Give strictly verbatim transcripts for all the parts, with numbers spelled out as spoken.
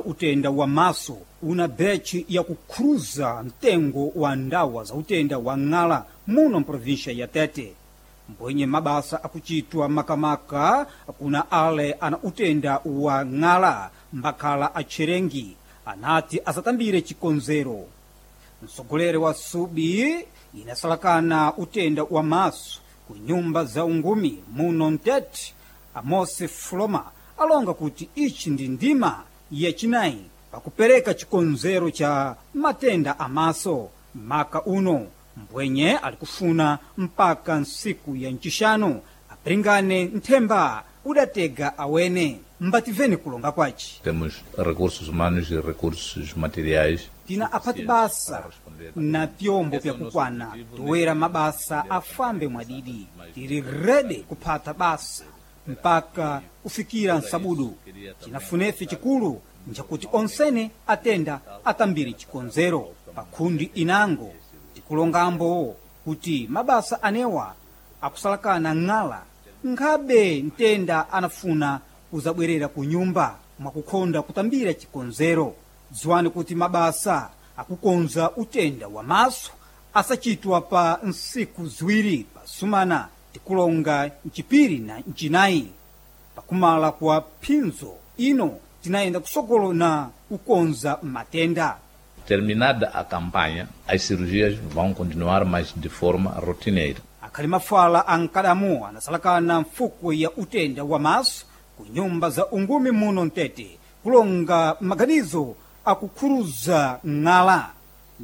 Utenda wa maso una bechi yakukhruza mtengo wa ndawa za utenda wa ng'ala muno mprovinsia ya Tete. Mbwenye mabasa akuchitwa makamaka kuna ale ana utenda wa ng'ala mbakhala atcherengi anati asatambire chikonzero. Mtsogoleri wa subi inasalakana utenda wa maso ku nyumba za ungumi muno mtete, Amosi Floma, alonga kuti ichi ndi ndima yachinayi pakupereka chikonzero cha matenda amaso maka uno, mbwenye ali kufuna mpaka ntsiku ya ncixanu apiringane nthemba udatega awene. Mbativeni kulonga kwaci. Temos recursos humanos e recursos materiais. Tina aphati basa na pyombo pyakukwana toera mabasa afambe mwadidi. Tili rede kuphata basa mpaka kufikira nsabudu. Cinafunefe cikulu ncakuti onsene atenda atambire chikonzero. Pakhundi inango tikulongambo kuti mabasa anewa akusalakana ng'ala nkhabe mtenda anafuna kuzabwerera ku nyumba mwakukhonda kutambira chikonzero. Dziwani kuti mabasa akukonza utenda wa maso asachitwa pa nsiku ziwiri pasumana, tikulonga mcipiri na mcinayi. Pakumala kwa phinzo ino tinayenda kusokolo na kukonza matenda. Terminada a campanha, as cirurgias vão continuar, mas de forma rotineira. Akhali mafala ankadamu anasalakana mfuko ya utenda wa maso ku nyumba za ungumi muno mtete kulonga maganizo akukhuruza ng'ala.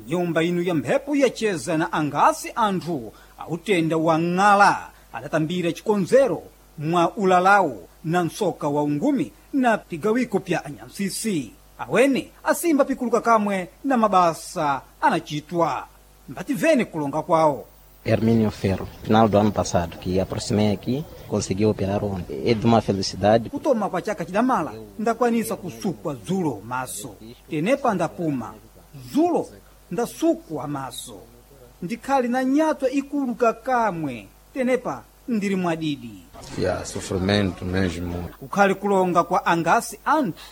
Nyumba inu ya mphepo yacheza na angasi anthu autenda wa ng'ala adatambira chikonzero mwa ulalawo na msoka wa ungumi na pigawiko pya anyansisi. Awene asimba pikuluka kamwe na mabasa anachitwa. Mbativeni kulonga kwawo. Hermínio Ferro, final do ano passado, que aproximei aqui, consegui operar ontem. É de uma felicidade. Kutoma kwa chaka chidamala ndakwanisa kusukwa dzulo maso, tenepa ndapuma dzulo ndasukwa maso, ndikhali na nyatwa ikuluka kamwe, tenepa ndili mwadidi. Yeah, sofrimento mesmo. Kukhali kulonga kwa angasi anthu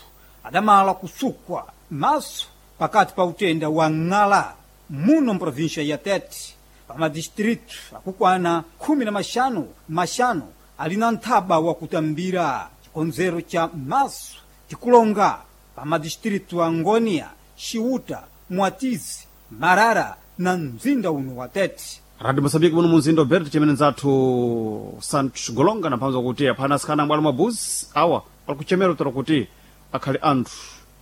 adamala kusukwa maso pakati pa utenda wa ng'ala muno mprovinsia ya Tete pa madistritu akukwana khumi na maxanu maxanu ali na nthaba wakutambira chikonzero cha maso, tikulonga pa madistritu a Ngônia, Xiuta, Mwatizi, Marara na mzinda uno wa Tete. Radio Moçambique muno mumzinda Alberto, chimene nzathu Santos Golonga naphanza kuti aphana asikana ambwalo mabuzi awa ali kuchemera utero kuti akhale anthu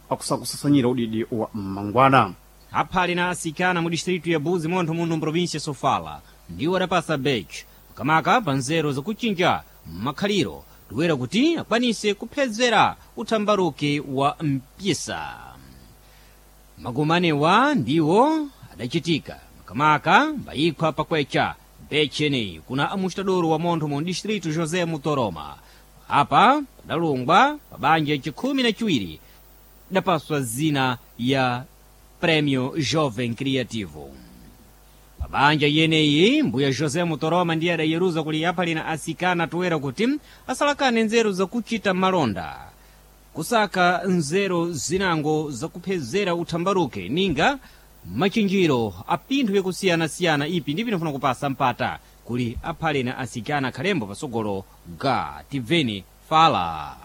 akusakusasanyira udidi wa mmangwana. Aphali na asikana mu distritu ya Buzi montho muno mprovinsia Sofala ndiwo adapasa bech makamaka pa nzeru zakuchinja makhaliro toera kuti akwanise kuphezera uthambaruke wa mpisa. Magumanewa ndiwo adachitika makamaka mbayikhwa pakwecha bechi eneyi kuna amustadoro wa montho mu distritu José Mutoroma. Apa padalungwa pa banja chikhumi na chiwiri dapaswa zina ya Prêmio Jovem Criativo. Pabanja yeneyi mbuya José Mutoroma ndiye adayeruza kuli aphalina asikana toera kuti asalakane nzeru zakuchita malonda, kusaka nzeru zinango zakuphezera uthambaruke ninga machinjiro a pinthu yakusiyanasiyana ipi ndi pinofuna kupasa mpata kuli aphalina asikana khalembo pasogolo ga tibveni fala.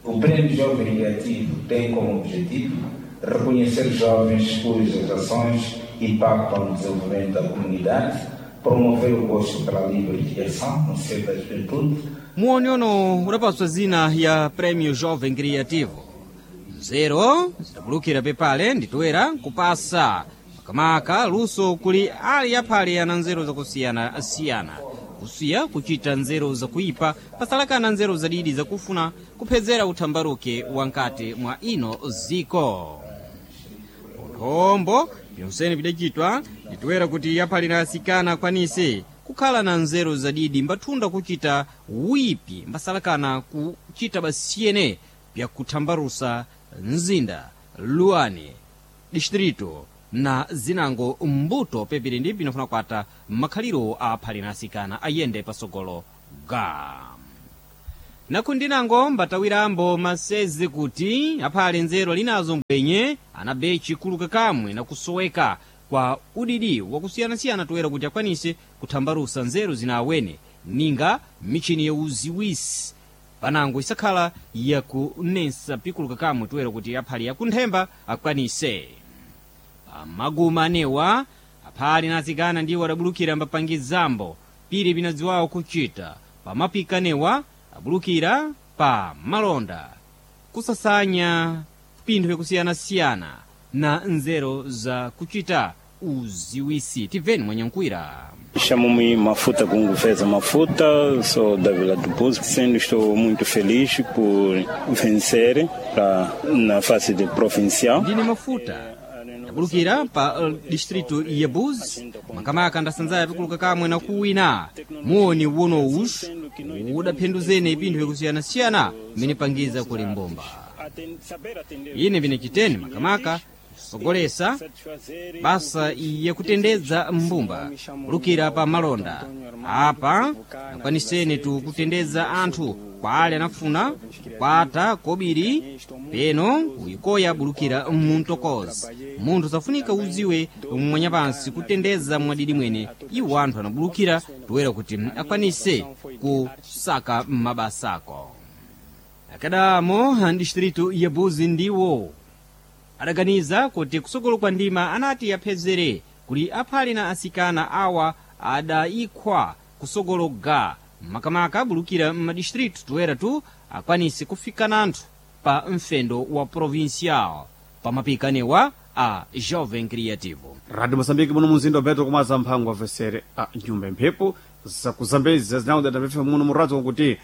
O Prêmio Jovem Criativo tem como objetivo reconhecer jovens cujas ações impactam no desenvolvimento da comunidade, promover o gosto pela livre criação no seio da juventude. Muonyono udapaswa zina ya Prêmio Jovem Criativo. Nzeru zidabulukira pepale nditoera kupasa makamaka luso kuli ali aphale ana nzeru zakusiyanasiyana, kusiya kuchita nzeru zakuipa pasalakana nzeru zadidi zakufuna kuphezera uthambaruke wankati mwa ino ziko. Nthombo byonsene bidachitwa nditoera kuti aphalira asikana akwanise kukhala na nzeru zadidi mbathunda kuchita wipi mbasalakana kuchita basiyene byakuthambarusa mzinda luane distrito na zinango mbuto pepiri ndi pinofuna kwata makhaliro a aphalira asikana ayende pasogolo ga. Nakundinango mbatawirambo masezi kuti aphale nzeru linazo mbwenye anabe chikuluka kamwe nakusoweka kwa udidi wakusiyanasiyana toera kuti akwanise kuthambalusa nzeru zina awene ninga michini ya uziwisi panango isakhala yakunensa pikuluka kamwe toera kuti aphale yakunthemba akwanise. Pamaguma anewa aphale nazikana ndiwo adabulukira mbapangizambo pili pinadziwawo kuchita pamapika anewa abulukira pa malonda kusasanya pinthu yakusiyanasiyana na nzeru za kuchita uziwisi. Tibveni mwanyankwira. Chamo-me Mafuta Gunguveza Mafuta, sou da Vila do Buzo. Sendo estou muito feliz por vencer pra, na fase de provincial. Ndine Mafuta ndabulukira pa uh, distrito ya Buzi makamaka ndasanzaya pikuluka kamwe na kuwina muoni wonowus udaphenduzene pinthu yakusiyanasiyana mmene pangiza kuli mbomba. Ine vinechiteni makamaka sogolesa basa yakutendedza mbumba kulukira pa malonda apa akwaniseni tu kutendedza anthu kwa ale anafuna kukwata kobiri peno uyikoya bulukira muntokozi munthu safunika uziwe mwanyapansi kutendedza mwadidi mwene iwo anthu anabulukira toera kuti akwanise kusaka mabasako. Akadamo distrito ya Buzi ndiwo adaganiza kuti kusogolo kwa ndima anati apezere kuli aphale na asikana awa adayikhwa kusogolo ga makamaka abulukira m'madistritu toera tu akwanise kufika nanthu pa mfendo wa provincial pamapika anewa a Jovem Creativo. Radio Moçambique muno muzinda wa Beto kumaza mphango avesere a nyumba mphepo zakuzambezi zinawudadapepha muno muradzo kuti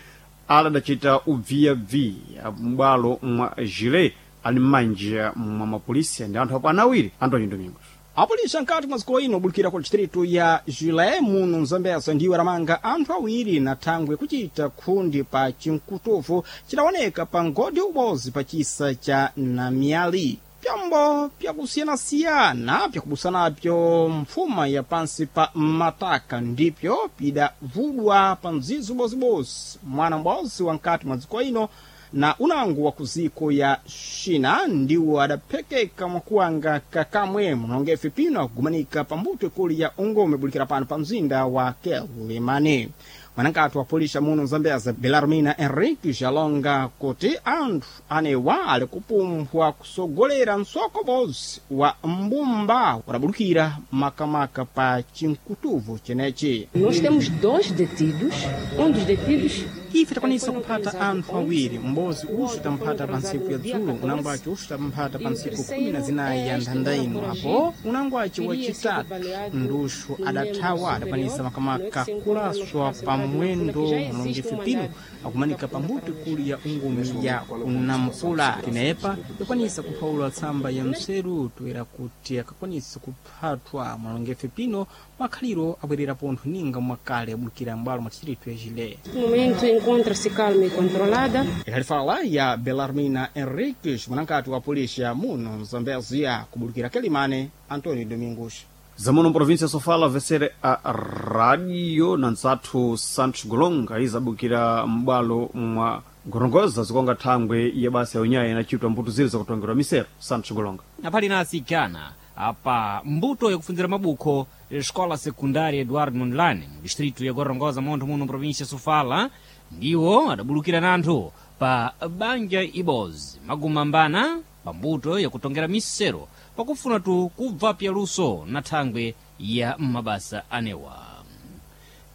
aladacita ubviyabviya m'bwalo mwa Gile ali m'manja mwa mapolisi ndi anthu apo anawiri Antonio Domingos. Apolisi ankati mwa dziko ino obulukira ku distritu ya Gilé muno mzambeza ndiwo aramanga anthu awiri na thangwe kuchita khundi pa chinkutufu chidawoneka pa ngodi ubozi pa chisa cha Namiali. Pyambo pyakusiyanasiyana pyakubusanapyo mfuma ya pansi pa mataka ndipyo pidavudwa pa mzizi ubozibozi mwana m'bozi wa nkati mwa dziko ino na unango wa kuziko ya China ndiwo adaphekeka mwakuwanga kakamwe munongefe pino akugumanika pambuto ikulu ya ungome bulikira pano pa mzinda wa Quelimane. Mwanankati wa polisi muno Zambeza Belarmina Henrique jalonga kuti anthu anewa ali kupumphwa kusogolera msoko bozi wa mbumba udabulukira makamaka pa chinkutuvu chenechi. Nós temos dois detidos, um dos detidos Ife takwanisa kuphata anthu awiri m'bozi uxu tamphata pa ntsiku ya dzulo unango ace uxu tamphata pa ntsiku khumi na zinayi ya nthanda ino apo unango ace wacitatu nduxu adathawa adakwanisa makamaka kulaswa pa mwendo mulongefe pino akumanika pambuto ikulu ya ungumi ya kunampula. Tinepa yakwanisa kuphawula tsamba ya mseru toera kuti akakwanisa kuphathwa mulongefe pino makhaliro abwerera pontho ninga mwakale abulukira m'bwalo mwa distritu ya Gilé. momento encontra-se calma e controlada. Ihalifala ya Belarmina Henriques mwanankati wa polisi muno Zambezia kubulukira Quelimane Antonio Domingos. Zamuno província sofala avesere a radio na ntsathu Santos Golonga izabukira m'bwalo mwa Gorongoza zikonga thangwe ya basa ya unyayi inachitwa mbuto ziri zakutongerwa misero. Santos Golonga. Aphali na asikana apa mbuto yakufunzira mabukho escola secundária Eduardo Mondlane mu distrito ya Gorongosa montho muno província Sofala ndiwo adabulukira nanthu pa banja ibozi magumambana pa mbuto yakutongera misero pakufuna tu kubva pyaluso na thangwe ya mabasa anewa.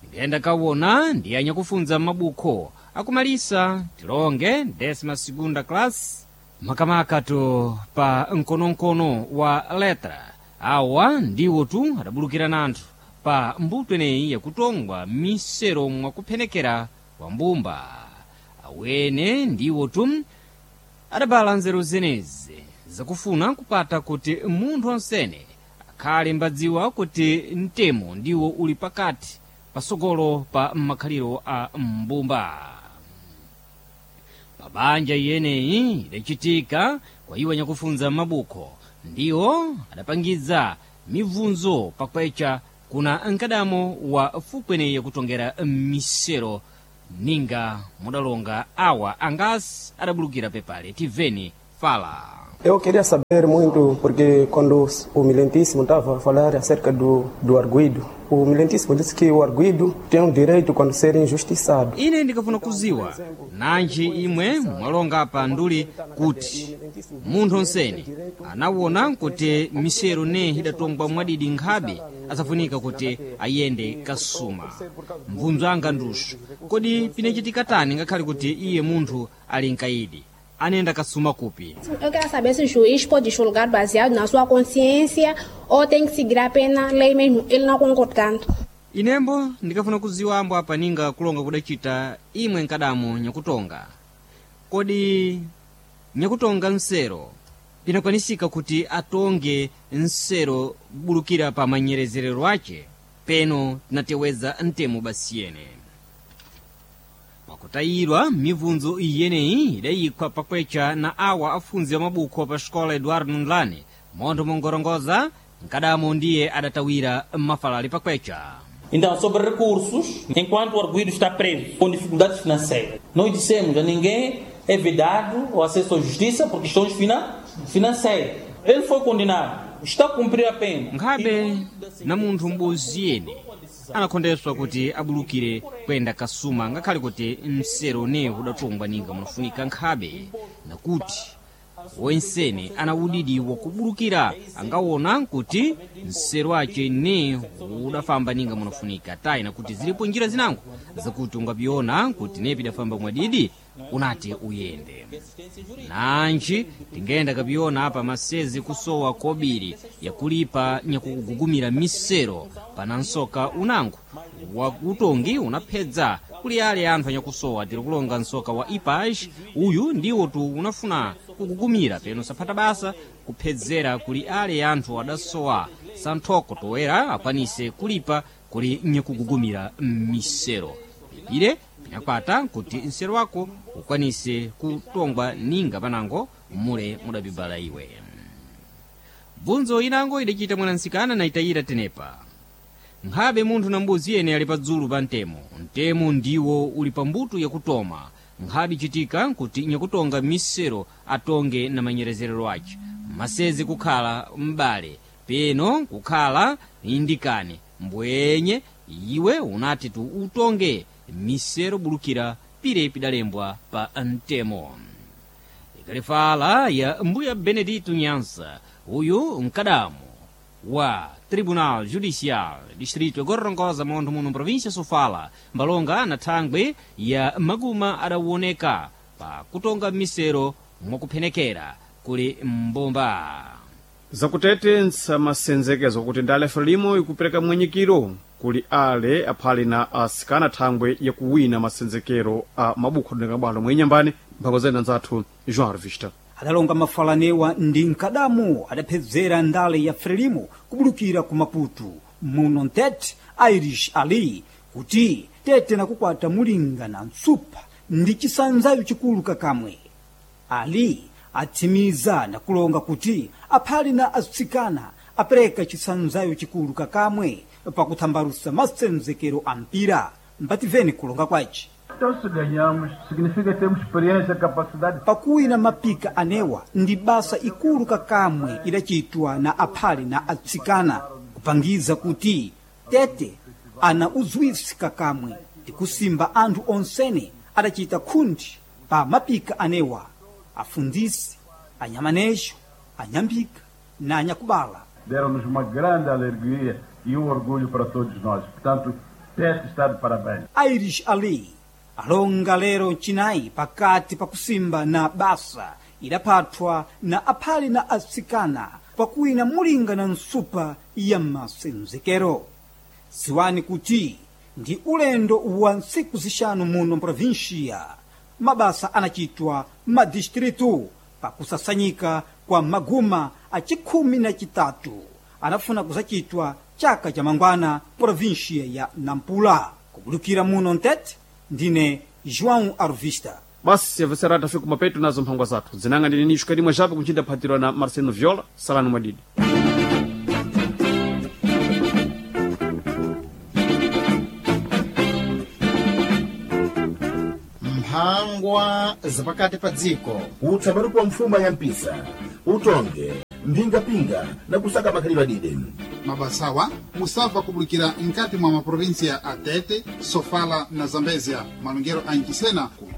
Ndiyenda kawona ndiye anyakufunza mabukho akumalisa tilonge décima segunda classe makamaka tu pa mkonomkono wa letra awa ndiwo tu adabulukira nanthu pa mbuto ineyi yakutongwa misero mwakuphenekera kwa mbumba awene ndiwo tu adabala nzeru zenezi zakufuna kupata kuti munthu onsene akhale mbadziwa kuti mtemo ndiwo uli pakati pasogolo pa makhaliro a mbumba. Pabanja iyeneyi idachitika kwa iwo anyakufunza mabukho ndiwo adapangiza mibvunzo pakwecha kuna mkadamo wa fukweneyi yakutongera misero Ninga mudalonga awa angasi adabulukira pepale tiveni fala. Eu queria saber muito, porque quando o Milentíssimo estava a falar acerca do, do arguido, o Milentíssimo disse que o arguido tem o direito quando ser injustiçado. Ine ndikafuna kuziwa nanji imwe mwalonga pa nduli kuti munthu onsene anawona kuti misero ne idatongwa mwadidi nkhabe asafunika kuti ayende kasuma. Mvunzo anga ndusu, kodi pinachitika tani ngakhale kuti iye munthu ali mkaidi anenda kasuma kupi? Eu quero saber se o juiz pode julgar baseado na sua consciência ou tem que seguir apenas a lei mesmo, ele não concordando. Inembo ndikafuna kuziwa ambo apa ninga kulonga kudacita imwe nkadamu nyakutonga. Kodi nyakutonga nsero pinakwanisika kuti atonge nsero bulukira pa manyerezerero ace peno tinateweza ntemo basiyene. Pakutayirwa mibvunzo iyeneyi idayikwa pakwecha na awa afunzi amabukho pa xikola Eduardo Ndlane montho mongorongoza nkadamo ndiye adatawira mafalali pakwecha. Então, sobre recursos, enquanto o arguido está preso com dificuldades financeiras, nós dissemos a ninguém é vedado o acesso à justiça por questões fina financeiras. Ele foi condenado, está a cumprir a pena. Nkhabe na munthu m'bodzi yene anakhondeswa kuti abulukire kuyenda kasuma ngakhale kuti msero ne udatongwa ninga munafunika nkhabe nakuti wensene ana udidi wakubulukira angawona kuti msero ace ne udafamba ninga munafunika tayi nakuti zilipo njira zinango zakuti ungapiona kuti ne pidafamba mwadidi unati uyende. Nanji tingenda kapiona apa masezi kusowa kobiri yakulipa nyakugugumira misero pana nsoka unango wakutongi unaphedza kuli ale anthu anyakusowa. Tiri kulonga nsoka wa ipaj uyu ndiwo tu unafuna kugugumira peno saphata basa kuphedzera kuli ale anthu adasowa santhoko toera akwanise kulipa kuli nyakugugumira misero pipire pinakwata kuti msero wako ukwanise kutongwa ninga panango mule mudabibala iwe. Bvunzo inango idacita mwanansikana na itayira tenepa. Nkhabe munthu na mbuzi yene ali padzulu pa mtemo, mtemo ndiwo uli pa mbuto yakutoma. Nkhabe ichitika nkuti nyakutonga misero atonge na manyerezerero ace masezi kukhala m'bale peno kukhala indikane mbwenye iwe unati tu utonge misero bulukira pire pidalembwa pa mtemo. Ikalifala ya mbuya Benedito Nyansa uyu mkadamu wa Tribunal Judicial Distrito yagorongoza montho muno província Sofala mbalonga na thangwe ya maguma adawoneka pa kutonga misero mwakuphenekera kuli mbomba. Zakutete nsamasenzekeza kuti ndale Frelimo ikupereka mwenyekero kuli ale aphali na asikana thangwe yakuwina masenzekero a mabukho adoneka bwalo mwenyambani mphambo zena nzathu João Revista. Adalonga mafalanewa ndi nkadamu adaphedzera ndale ya Frelimo kubulukira ku Maputo muno Ntete Irish Ali kuti tete nakukwata mulinga na ntsupha ndi chisanzayo chikulu kakamwe. Ali atsimiza nakulonga kuti aphali na atsikana apereka chisanzayo chikulu kakamwe pakuthambalusa masenzekero a mpira. Mbativeni kulonga kwace. Então, se ganhamos, significa que temos experiência, capacidade. Pakuwina mapika anewa ndi basa ikulu kakamwe idachitwa na aphali na atsikana kupangiza kuti tete ana uzwisi kakamwe ndikusimba anthu onsene adachita khundi pa mapika anewa afundzisi, anyamanejo, anyambika na anyakubala. Deram-nos uma grande alegria e um orgulho para todos nós. Portanto, Tete está de parabéns. Irish Ali alonga lero mchinayi pakati pakusimba na basa idaphathwa na aphali na atsikana pakuwina mulinga na nsupa ya masenzekero. Siwani kuti ndi ulendo wa ntsiku zixanu muno mprovinsia mabasa anachitwa madistritu pakusasanyika kwa maguma a chikhumi na chitatu anafuna kuzacitwa chaka cha mangwana provinsia ya Nampula. Kubulukira muno Ntete, ndine João Arvista. Basi yavesera tafika kumapeto nazo mphangwa zathu zinanga ndine nishu kadimwe chape kunchinda phatirwa na Marcelo Viola. Salani mwadidi. wa zapakati pa dziko Utsambaruko wa mfuma ya mpisa, utonge, mphingapinga na kusaka makhalidwe adide. Mabasawa musabva kubulikira nkati mwa maprovinsia a Tete, Sofala na Zambezia. Malongero a Nchisena ku